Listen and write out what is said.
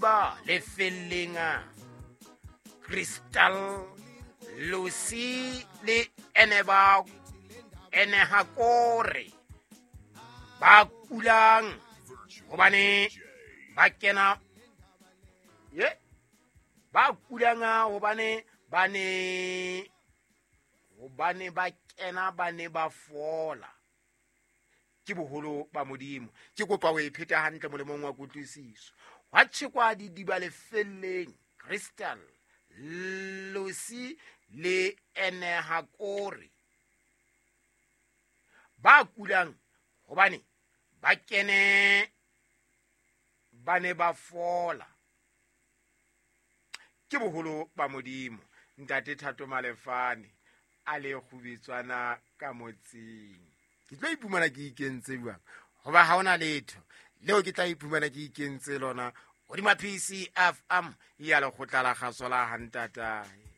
Didiba lefelleng Crystal Lucy le Eneba Enehakore ba kulang hobane ba kena ye ba kulang hobane ba ne hobane ba kena ba ne ba fola. Ke boholo ba Modimo. Ke kopa o e pheta hantle molemong wa kutlwisiso. Hwa tjhekwa didiba lefelleng Crystal Lucy le Enehakore ba kulang hobane ba kene ba ne ba fola. Ke boholo ba Modimo. Ntate Thato Malefane a le kgubetswana ka motseng. Ke tlo iphumana ke ikentse jwang? Hoba ha hona letho leo ke tla iphumana ke ikentse lona hodima PCFM ya lekgotla la kgaso la hantatae.